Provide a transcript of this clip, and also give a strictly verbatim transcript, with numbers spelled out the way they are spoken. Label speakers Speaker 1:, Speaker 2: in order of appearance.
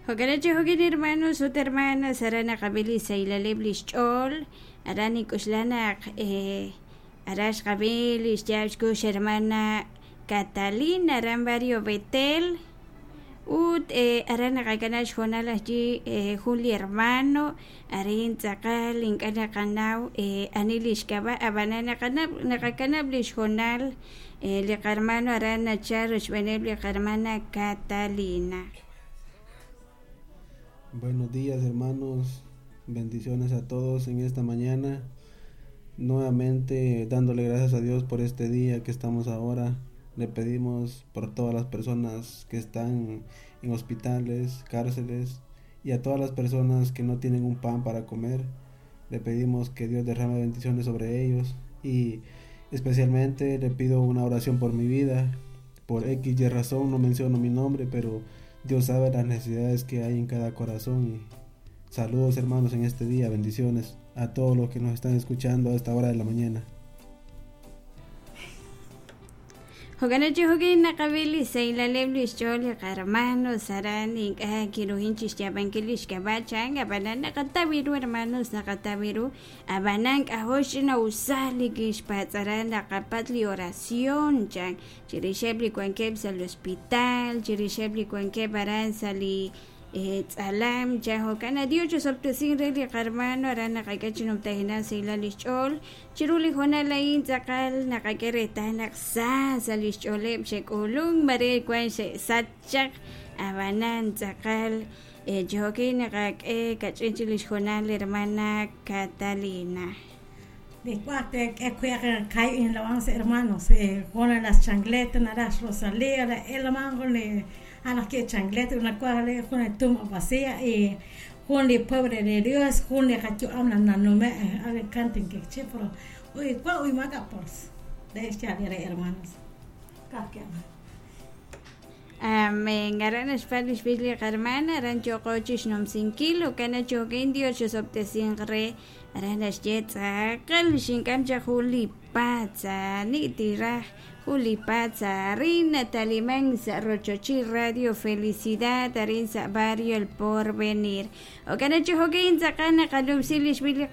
Speaker 1: Jo'kan chi jo'kin hermanos ut hermanas aran naqab'i li saylaleb' li xch'ool aran nik'uxla naq eh, aran xqab'i li xyaab' xkux hermana Catalina aran barrio Betel ut eh, aran naqakanab' xhoonal ajwi' eh, jun li hermano arin tz'aqal ink'a' naqanaw eh, ani li xk'ab'a' ab'anan naqanab' naqakanab' li xhoonal eh, li qarmano aran nachal rochb'eeneb' li qarmana Catalina.
Speaker 2: Buenos días hermanos, bendiciones a todos en esta mañana. Nuevamente dándole gracias a Dios por este día que estamos ahora. Le pedimos por todas las personas que están en hospitales, cárceles y a todas las personas que no tienen un pan para comer. Le pedimos que Dios derrame bendiciones sobre ellos y especialmente le pido una oración por mi vida. Por X y razón no menciono mi nombre, pero Dios sabe las necesidades que hay en cada corazón. Y saludos hermanos en este día, bendiciones a todos los que nos están escuchando a esta hora de la mañana.
Speaker 1: Jo'kan chi jo'kin naqab'i li saylaleb' li xch'ool li qarmanos aran ink'a' kiruhin chixyaab'ankil li xk'ab'a' chan ab'anan naqataw ru hermanos naqataw ru ab'anan k'ajol xch'inawsal li kixpatz'aran naqapat li oración chan chirixeb' li wankeb' sa' li hospital chirixeb' li wankeb' aran sa' li eh, tz'alam chan jo'kan Dios chusob'tesin re li qarmano aran naqak'e chinumtajinan saylal li xch'ool chiru li hoonal a'in tz'aqal naqak'e reetal naq sa sa' li xch'ooleb' xe'k'ulunk mare wan xe'sach chaq ab'anan tz'aqal eh, chijo'kin naqak'e kach'in chik li xhoonal hermana Catalina.
Speaker 3: De cuate que cae en la once hermanos, eh, con las chancletas, las Rosalía, el mango le a las que chancleta una cuadra le con el tumba vacía y con el pobre de Dios, con el cacho hablan na no me a ver canten que che pero uy cua uy maga por de este hermanos.
Speaker 1: Amén. Aran xpal xpil li qarmana aran choqochi xnumsinkil ukana chokin Dios chusob'tesin re aran naxye tz'aqal xink'am chaq jun li patza ni'tiraj jun li patza arin nataliman sa' rochochil Radio Felicidad arin sa' barrio El Porvenir. Okana chi jokin tz'aqal naqalub'si li xpil li